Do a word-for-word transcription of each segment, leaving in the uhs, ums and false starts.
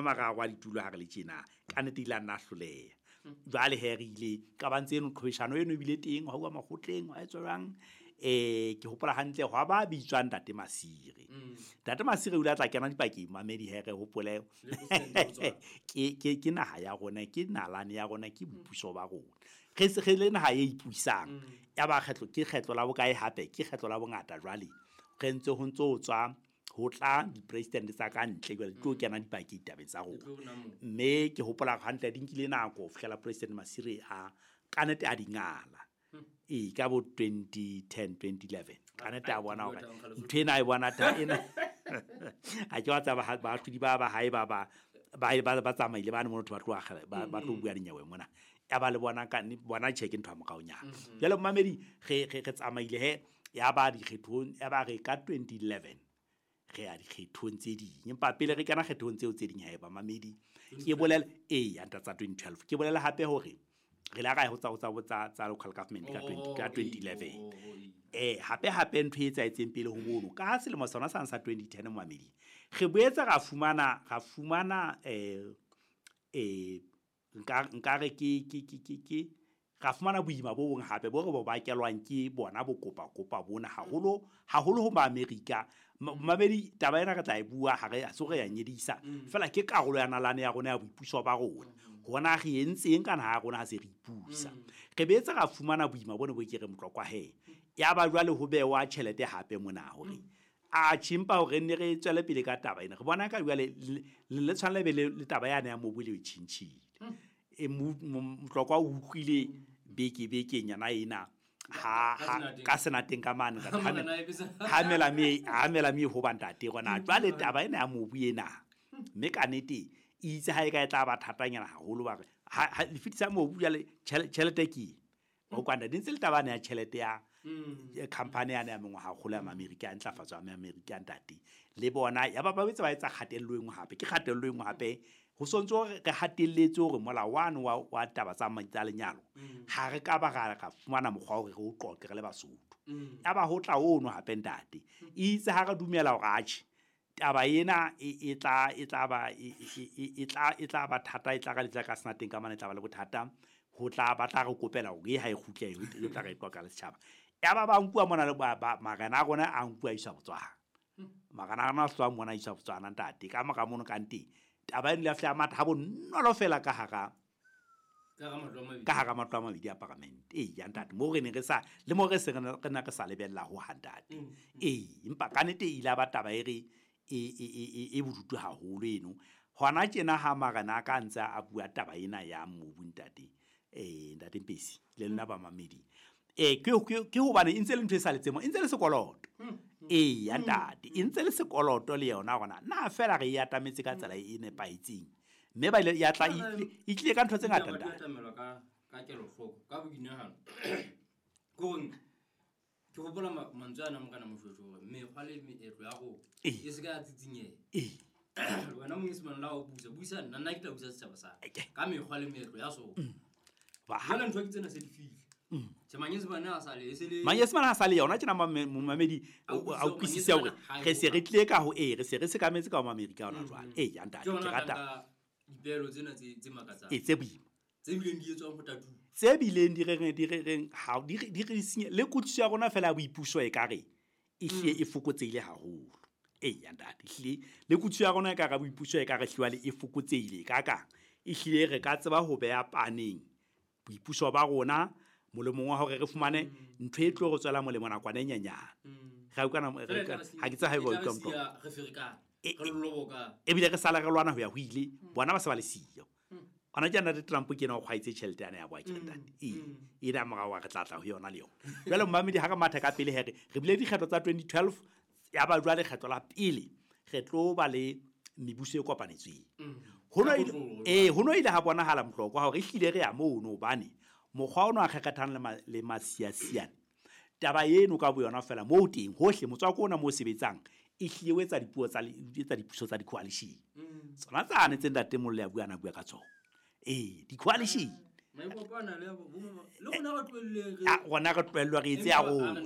mararo a ditulo ha re le tjena ka nnete ile a nna hloleha. Jwale he re ile ka ba ntse eno qhweshano eno ebile teng ha uwa makgotleng wa etswa jwang eh ke hopola hantle hwa ba bitswang Ntate Masire. Ntate Masire o ile a tla kena dipakeng mamedi he re hopole ke ke ke naha ya rona ke nalane ya rona ke boipuso ba rona re se re le naha e ipusang ya ba kgetlo ke kgetlo la bokae hape ke kgetlo la bongata jwale re ntse ho ntso tswa ho tla di-president tsa ka ntle jwale di tlo kena dipakeng ditabeng tsa rona mme ke hopola hantle di nkile nako ho fihlela President Masire a ka nnete a di ngala e ka bo twenty ten twenty eleven ka nnete a bona hore ntho ena e bona ta ena a ke wa tsaba baahlodi ba ba hae ba ba ba ba ba tsamaile ba ne motho ba tloha ba ba tlo bua dinyewe mona ya ba le bona ka bona check ntho ya moraonyana jwale mamedi re re tsamaile he ya ba dikgethong ya ba re ka twenty eleven re ya dikgethong tse ding empa pele re kena kgethong tseo tse ding haeba mamedi ke bolela e ya tsa twenty twelve ke bolela hape hore re la ra ho tsa tsa tsa tsa local government ka twenty ka twenty eleven eh hape hape ntho e etsaetseng pele ho mono ka selemo sona sa sa twenty ten mamedi re boetse ra fumana ra fumana eh eh nka nka re ke ke ke ke ra fumana boima bo bong hape bo re bo bakelwang ke bona bokopa kopa bona haholo haholo ho Maamerika mamedi taba ena re tla e bua ha re so re ya nyedisa fela ke karolo ya nalane ya rona ya boipuso ba rona hona re entseng kana ha rona ha se re ipusa re beetse ra fumana boima bone bo ke re motlokwa he ya ba jwale ho bewa tjhelete hape mona hore a chimpa hore ne re tswele pele ka taba ena re bona ka jwale le tshwanela be le taba yana ya mobu le tjhintjhile e motlokwa o utlwile beke beke nyana ena ha ka senateng ka mane ha mela me ha mela me ho bantate rona jwale taba ena ya mobu ena mme ka nnete itse ha e ka e tla ba thatanyana haholo ba re ha le fitisa mobu jwale tjhelete ke o kwanda di ntse le taba ya tjhelete ya company yana ya mengwaha kgolo ya Amerika ya ntlafatso ya Amerika ntate le bona ya ba ba betse ba etsa kgatello engwe hape ke kgatello engwe hape ho sontso re hatelletse hore molao wa wa taba tsa tsa lenyalo ha re ka ba ra ka fumana mokgwa hore re o qoqe re le Basotho ya ba ho tla ono hape ntate itse ha re dumela hore atjhe taba ena e tla e tla ba e tla e tla ba thata e tla ka letla ka senateng ka mane tla ba le bothata ho tla ba tla re kopela hore ha e kgutle e tla re qoqa le setjhaba ya ba ba nkuwa mona le ba marena a rona a nkuwa isa Botswana marena a rona a tswa mona isa Botswana ntate ka mora mono ka nteng taba ena le fla matha ha bonolo fela ka hara ka hara matlo a mabedi a parliament e ya ntate mo re ne re sa le mo re se re na re sa lebella ho ha ntate e empa ka nnete ile ba taba e re e e e bodutu haholo eno hona tjena ha marena ka ntse a bua taba ena ya mobu ntate eh ntate Mpesi le nna ba mamedi eh ke ke hobane e ntse le ntho e sa letsemo e ntse le sekoloto e ya ntate e ntse le sekoloto le yona rona na fela re ya atametse ka tsela e nepahetseng mme ba ile ya tla e tlile ka ntho tse ngata ntate atamelwa ka ka kelohloko ka boinahano go ke hopola mantswe ana mokana moshweshwe hore mekgwa le meetlo ya rona e se ka tsitsinyeha eh wena monyesemane la o busa buisa nna nna ke tla busa setjhaba sa ka mekgwa le meetlo ya sona ba ha ntho ke tsena se di file tje manyesemane a sa le e se le manyesemane a sa le yona tjena momamedi a utlwisise hore re se re tlile ka ho e re se re sekametse ka ho Amerika hona jwale e ya ntate ke rata dipelo tsena tse tse makatsang e tse boima tse bileng di etswang ho tatu tse bileng di reng di reng ha di di re senye le kutlwisiso ya rona fela ya boipuso e ka re e hlile e fokotsehile haholo e ya ntate hlile le kutlwisiso ya rona e ka re boipuso e ka re hlile e fokotsehile ka ka e hlile re ka tseba ho beha paneng boipuso ba rona molemong wa hore re fumane ntho e tlo re tswela molemo nakwana e nyenyane ga utlwana ha ke tsa ha e ba utlwa motho re ferekana re loboka ebile re sala re lwana ho ya ho ile bona ba se ba le siyo ona ke nna Trump ke ena o kgwaitse tjhelete yana ya boa ke ntate e e da morao wa re tla tla ho yona le yona jwale mmamedi ha re matha ka pele here re bile dikgetho tsa twenty twelve ya ba jwale kgetho la pele re tlo ba le mebuso e kopanetsweng hono eh hono ile ha bonahala mohlokwa hore ehlile re ya mono hobane mokgwa ono a kgekgethang le le masiasiane taba eno ka boyona fela mo teng hohle motswako ona mo sebetsang e hlile o etsa dipuo tsa etsa dipuso tsa di-coalition tsona tsane tse ntate Mollo ya bua na bua ka tsona eh di-coalition Rona re tlohellwa re etse ya rona.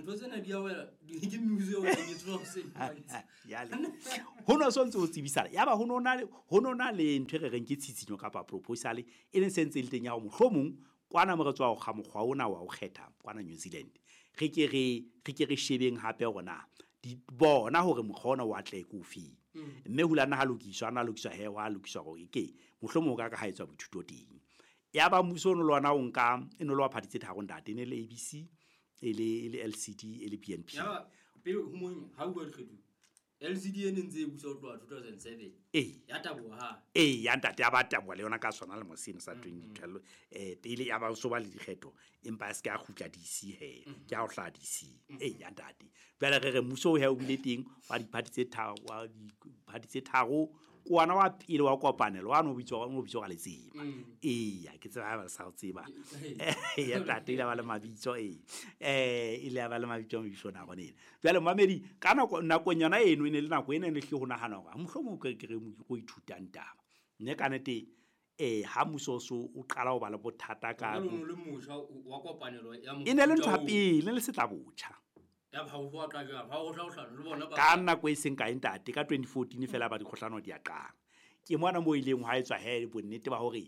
Ho no so ntse ho tsebisala. Yaba ho no na ho no na le ntho e re reng ke tshitshinyo kapa proposal e leng se ntse le teng ya hore mohlomong kwana mo re tswa ho kga mokgwa ona wa ho kgetha kwana New Zealand. Re ke re re ke re shebeng hape hore na di bona hore mokgwa ona wa tle ke ofe. Mme ho la nna ha lokiswa na lokiswa he wa lokiswa hore ke mohlomong o ka ka ha etswa boithuto teng. Ya ba mmuso ono le ona o nka e no le wa party tse tharo ntate, ne le A B C, e le e le L C D, e le B N P. Ya ba pele ho mong ha bua dikgetho L C D e ne ntse e busa ho tloha two thousand seven. Eh. Ya taboha ha. Eh, ya ntate ya ba taboha le yona ka sona le moseno sa twenty twelve. Eh, pele ya ba so ba le dikgetho empa se ka kgutla D C he. Ke ha o hla D C. Eh, ya ntate. Jwale re re mmuso o he o bile teng wa di-party tse tharo, wa di-party tse tharo kwana wa pele wa kopanelo wa no bitswa no bitswa ka letsema. Eya, ke tseba ha ba sa o tseba. Ya ntate ile ba le mabitso e. Eh, ile ba le mabitso mabitso na gone. Jwale mamedi ka nako nakong yona eno e ne le nako ena ne hle ho nahana hore mohlomong ke re go ithutang taba. Mme ka nnete eh ha mmuso so o qala ho ba le bothata ka le le motjha wa kopanelo ya E ne le ntho ya pele, le setla botjha. Ya ba ho tla jwang, ha ho tla ho hlano le bona ba ka nako e seng kae ntate ka twenty fourteen fela ba dikgohlano di a qala. Ke mona mo ileng ha etswa he bonnete ba hore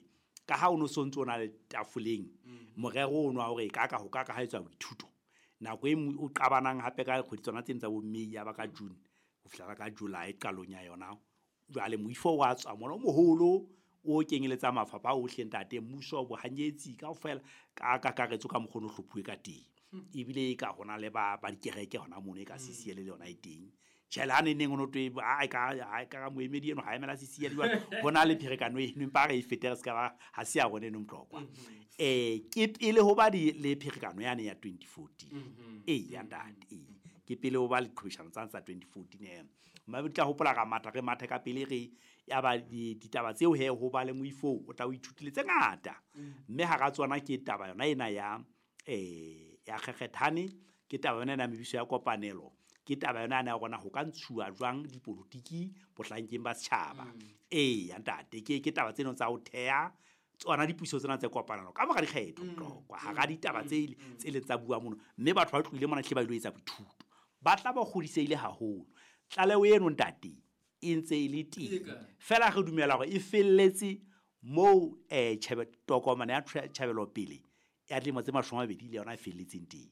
ka ha o no sontso o na le tafoleng morero ono wa hore ka ka ho ka ka ha etswa boithuto. Nako e o qabanang hape ka kgwedi tsona tsena tsa bo May ya ba ka June ho fihla ka July qalong ya yona. Jwale moifo wa tswa mona o moholo o kenyeletsa mafapha ohle ntate, mmuso bohanyetsi kaofela ka kakaretso ka mokgono hlophuwe ka teng. Ebile e ka hona le ba ba dikereke hona mono e ka C C L le yona e teng. Tjhe, ha ne neng o no twe, a ka a ka moemedi eno ha emela C C L jwale, hona le pherekano eno empa re e fete re ska ba ha se ya rona eno motlokwa. Eh, ke pele ho ba di le pherekano yane ya twenty fourteen. Eh, ya ntate, eh. Ke pele ho ba le qhobishano tsa tsa twenty fourteen eh. Mme re tla hopola ka matha re mathe ka pele re ya ba ditaba tseo he ho ba le moifo o tla o ithutile tse ngata. Mme hara tsona ke taba yona ena ya eh ya kgekgethane, ke taba yona ena mebuso ya kopanelo, ke taba yona ena ya rona ho ka ntshuwa jwang dipolotiki bohlankeng ba setjhaba. Eh, ya ntate, ke ke taba tseno tsa ho theha tsona dipuso tsena tse kopanelo ka mora dikgetho tlokwa hara ditaba tse tse leng tsa bua mono, mme batho ba tlohile mona hle ba ilo etsa boithuto ba tla ba kgodisehile haholo. Tlaleho eno ntate e ntse e le teng fela re dumela hore e felletse moo eh tjhebe tokomane ya tjhebelopele ya dilemo tse mashome a mabedi le yona e felletseng teng.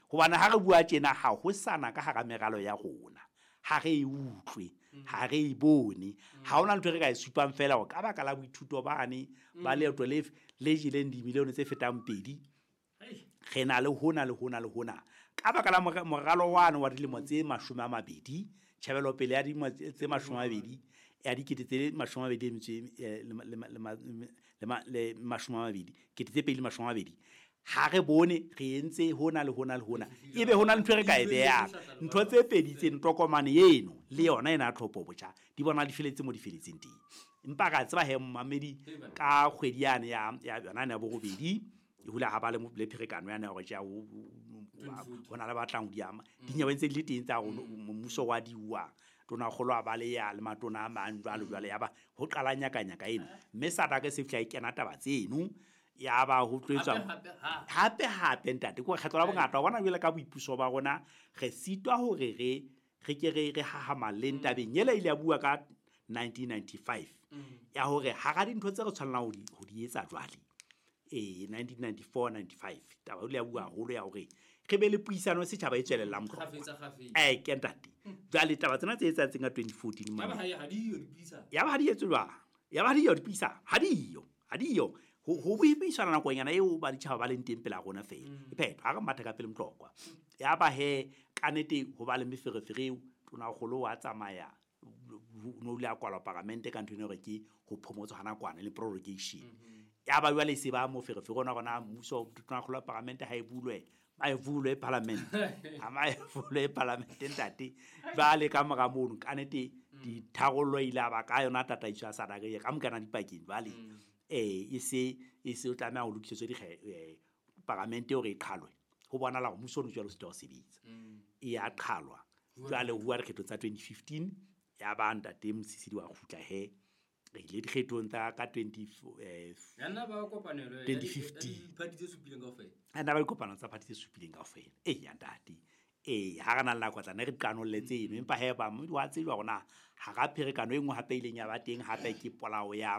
Hobane ha re bua tjena ha ho sana ka hara meralo ya rona, ha re e utlwe, ha re e bone, ha hona ntho e re ka e supang fela hore ka baka la boithuto bane ba leeto le le jeleng dimilione tse fetang pedi, re na le hona le hona le hona. Ka baka la moralo wane wa dilemo tse mashome a mabedi, tjhebelopele ya dilemo tse mashome a mabedi ya dikete tse mashome a mabedi metso le le mashome a mabedi, kete tse pedi le mashome a mabedi. Ha re bone re entse hona le hona le hona, ebe hona le ntho e re ka e behang. Ntho tse pedi tse ntokomane eno le yona ena ya tlhopho botjha di bona di feletse mo di feletseng teng. Empa ka tseba he mmamedi ka kgwedi yane ya ya yona ya borobedi e hula ha ba le le pherekano yane ya hore tja ho na le batlang ho di ama. Dinyewe tse di le teng tsa hore mmuso wa di uwa tona kgolo a ba le ya le matona a mang jwalo jwalo, ya ba ho qala nyakanyaka eno. Mme SADC se fihla e kena taba tseno ya ba ho tloetswa hape hape ntate. Ke kgetho la bongata wa bona jwale ka boipuso ba rona re sitwa hore re re ke re re hahamalleng tabeng ela ile ya bua ka nineteen ninety-five ya hore hara dintho tse re tshwanelang ho di ho di etsa jwale eh nineteen ninety-four ninety-five taba ile ya bua haholo ya hore re be le puisano setjhaba e tswelellang eh ke ntate. Jwale taba tsena tse etsaetseng ka twenty fourteen mane ya ba ha di yo dipuisano, ya ba ha di etswe jwang, ya ba ha di yo dipuisano, ha di yo ha di yo ho ho buisana nakonyana eo ba ditjhaba ba leng teng pela rona fela. E phetho ha re matha ka pele motlokwa. Ya ba he ka nnete ho ba le meferefere eo tona kgolo wa tsamaya no le a kwalwa paramente ka ntho eno hore ke ho phomotswa hana kwana le prorogation. Ya ba jwale se ba moferefere ona rona mmuso tona kgolo wa paramente ha e bulwe ba e bulwe parliament ha ma e bulwe parliament ntate. Jwale ka mora mono ka nnete ditharollo ile ba ka yona tataiso ya SADC ka mokana dipakeng jwale eh e se e se o tlameha ho lokisetswe di paramente hore e qhalwe. Ho bonala hore mmuso o jwalo o sitwa ho sebetsa, e ya qhalwa jwale ho bua dikgetho tsa twenty fifteen ya ba ntate Mosisili wa kgutla he Re ile dikgethong tsa ka twenty eh, Ya nna ba kopanelo ya twenty di- ya fifteen. diphathi tse supileng kaofela. A nna ba dikopano tsa party tse supileng kaofela. Eya ntate, ee, ha re na le nako tla ne re qanolle tseno, empa hee ba wa tsejwa hore na hara pherekano e nngwe hape e ileng ya ba teng hape ke polao ya